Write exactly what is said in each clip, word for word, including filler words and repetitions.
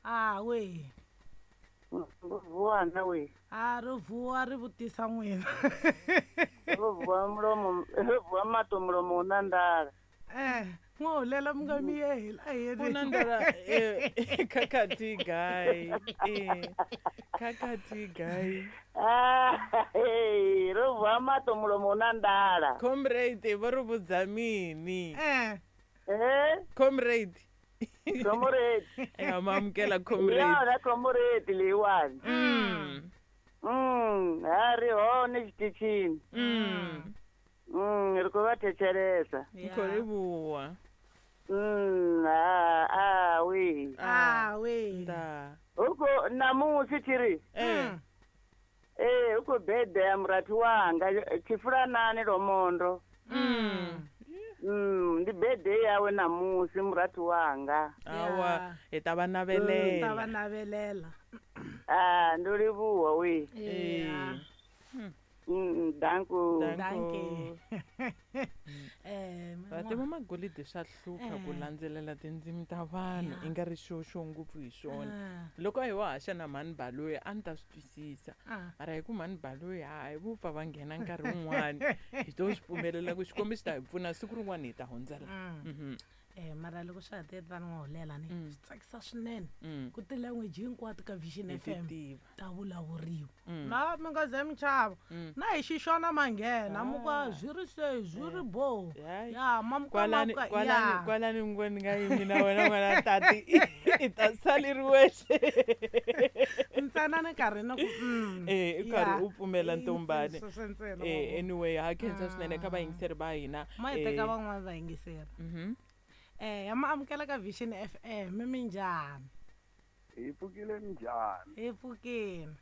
A we. Vuwa na we. A ri vuwa ri vutisa n'wina. Ro vuwa mulomo, ro vuwa mato mulomo na ndala. Eh, n'wahulela mi nga miyeli a hi U na ndala eh khakhathi guy. Eh. Khakhathi guy. Ah, hey, ro vuwa mato mulomo na ndala. Comrade va ri vudza mini? Eh. Eh? Comrade. Comrade. Eh, ma amukela comrade. Ya, na comrade leyiwani. Mm. Mm, ha ri hone xitichini. Mm. Mm, ri ku va thetshelesa. Ni khou livhuwa. Mm, ah, ah, we. Ah, we. Nda. Huko namusi tshiri. Eh. Eh, huko bede ya murathu wanga tshifulanani Lomondo. Mm. Mm, ndi bede yawe namusi murathu wanga. Awa, hi ta va Ta va navelela. navelela. Ah, ndo livhuwa we. Eh. Mm, danko. Dankie. Eh, Va tiva magolide swa hlupha ku landzelela tindzimi ta vanhu i nga ri xo xo ngopfu hi swona. Loko a hi wa haxa na mhani Baloyi a ni ta swi twisisa. Ah. Mara hi ku mhani Baloyi hayi vo pfa va nghena nkarhi wun'wani hi to swi pfumelela ku Xikwembu xi ta hi pfuna siku rin'wana hi ta hundza la. Mm. Mhm. Eh, mara loko swa ha te ta n'wahulela ni Mm. swi tsakisa swinene Mm. ku ti-language hinkwato ka Vision Hi ti F M tiva. ta vulavuriwa. Mm. Na mi nga ze mi chava. Mm. Na hi xixona manghena mu ku Ah. zwi ri se zwi ri bo. Hayi. Ya mamuka Kwalani mamuka kwalani ya. kwalani ngo ni nga yimi na wena n'wana tati i ta sali ri wexe. Ntsena ni karhi ni ku mm. Eh, i karhi Ya. u pfumela I ntombani. sweswo ntsena Eh, wa anyway, ha khensa swinene ka vayingiseri va hina. Ma hi Eh, teka van'wana vayingiseri. mhm. Eh, ya ma amukela ka Vision F M minjhani? Hi pfukile minjhani? Hi pfukile.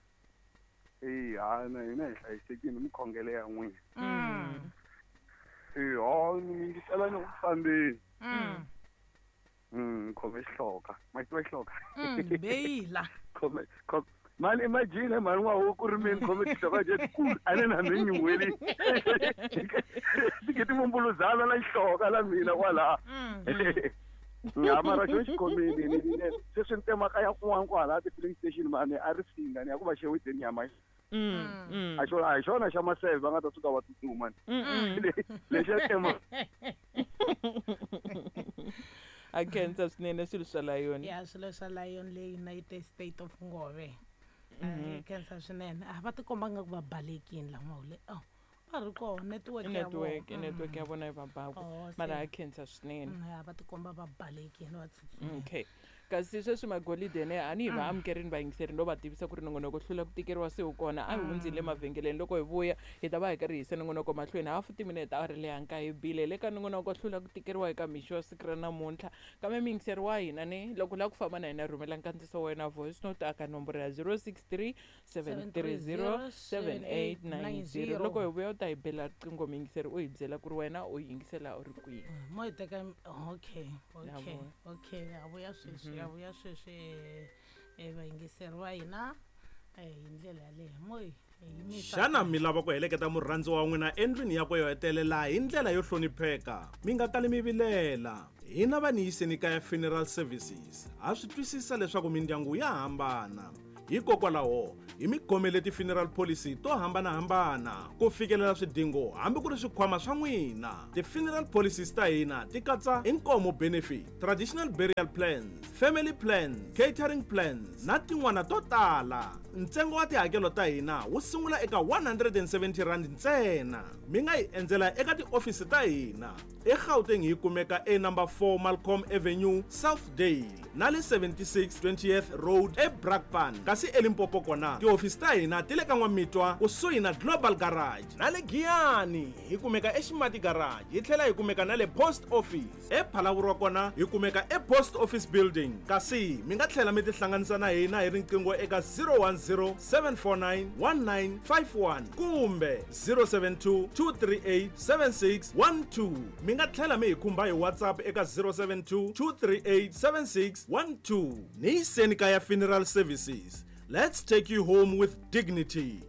Eh, ha na hina hi hlayisekile mikhongelo ya n'wina. Mm. Eh, ha ni yingisela ni ku fambeni. Mm. Mm, khome xihloka. Ma tiva xihloka? Mm, beyila. Khome khome mani imagine mani wa huku ri mini khome xihloka je ku a ni na mi nyuheli. Ti ke timumbuluzana na xihloka la mina kwala. Mm. Ya mara xo xi khomile ni ni sweswi ni temaka ya kun'wana kwala ti-filling station mani a ri singa ni ya ku va xeweteni ya ma Mm, mm. a xona a hi xona xa maseve va nga ta suka va tsutsuma ni. Mm, mm. Le- lexiya tema A khensa swinene swilo swa Lion. Ya swilo swa Lion le United State of Ngove. Eh, khensa swinene. A va tikomba nga ku va balekile la n'wahule. Oh, va ri kona network I ya network, vona. i network ya vona yi va baku. Oh, se- Mara ha khensa swinene. Mm, ya va tikomba va balekile va tsutsumile. Okay. Kasi sweswi magolide ne a ni hi va amukerini vayingiseri no va tivisa ku ri nongonoko hlula ku tikeriwa se wu kona a hi hundzile mavhengeleni loko hi vuya hi ta va hi karhi hi yisa nongonoko mahlweni hafu timinete a ri le hanka hi bile le ka nongonoko hlula ku tikeriwa eka mixo wa siku ra namuntlha kambe muyingiseri wa hina ne loko u lava ku famba na hina rhumela nkandziso wa wena voice note aka nomboro ya zero six three seven three zero seven eight nine zero loko hi vuya u ta hi bela riqingho muyingiseri u hi byela ku ri wena u yingisela u ri kwihi. Mo hi teka okay, Ya okay, vona. okay, ya vuya sweswi, ya vuya sweswi eh vayingiseri va hina eh hi ndlela yaleyo mo hi hi yimisa. Xana mi lava ku heleketa murhandziwa wa n'wina endlwini yakwe yo hetelela hi ndlela yo hlonipheka? Mi nga kali mi vilela. Hina va ni yiseni kaya Funeral Services ha swi twisisa leswaku mindyangu ya hambana. Hikokwalaho hi mi khomele ti-funeral policy to hambanahambana ku fikelela swidingo hambi ku ri swikhwama swa n'wina. Ti-funeral policies ta hina ti katsa inkomo benefit, traditional burial plans, family plans, catering plans na tin'wana to tala. Ntsengo wa tihakelo ta hina wu sungula eka one hundred and seventy rand ntsena. Mi nga hi endzela eka tiofisi ta hina. eGauteng hi kumeka e number four Malcolm Avenue, Southdale na le seventy-six twentieth Road eBrakpan. Kasi eLimpopo kona tihofisi ta hina ti le ka N'wamitwa kusuhi na Global Garage na le Giyani hi kumeka eXimati Garage hi tlhela hi kumeka na le Post Office. ePhalaborwa kona hi kumeka ePost Office Building. Kasi mi nga tlhela mi tihlanganisa na hina hi riqingho eka zero one zero seven four nine one nine five one kumbe zero seven two two three eight seven six one two. Mi nga tlhela mi hi khumba hi WhatsApp eka zero seven two two three eight seven six one two. Ni yiseni kaya Funeral Services. Let's take you home with dignity.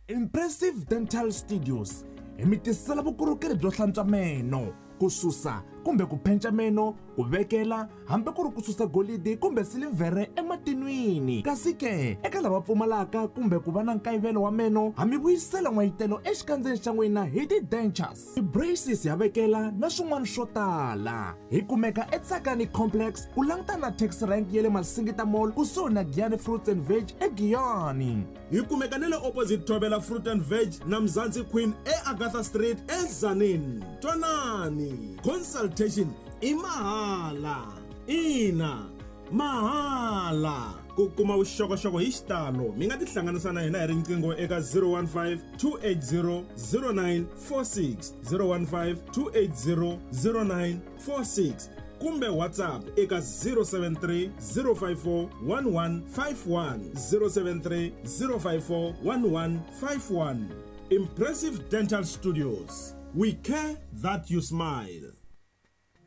Impressive Dental Studios hi mi tisela vukorhokeri byo hlantswa meno, ku susa kumbe ku penca meno, ku vekela hambi ku ri ku susa golidi kumbe silivhere ematinwini. Kasi ke eka lava pfumalaka kumbe ku va na nkayivelo wa meno, ha mi vuyisela n'wayitelo exikandzeni xa n'wina hi ti-dentures, ti-braces ya vekela na swin'wana swo tala. Hi kumeka eTsakani Complex ku langutana na taxi rank ya le Masingita Mall kusuhi na Giyani Fruits and Veg eGiyani. Hi kumeka na le opposite Thobela Fruit and Veg na Mzansi Queen eAgatha Street eZanin. Twanani, consultation i mahala. Ina, mahala. Ku kuma vuxokoxoko hi xitalo mi nga tihlanganisa na hina hi riqingho eka zero one five two eight zero zero nine four six, zero one five two eight zero zero nine four six kumbe WhatsApp eka zero seven three zero five four one one five one, zero seven three zero five four one one five one. Impressive Dental Studios. We care that you smile.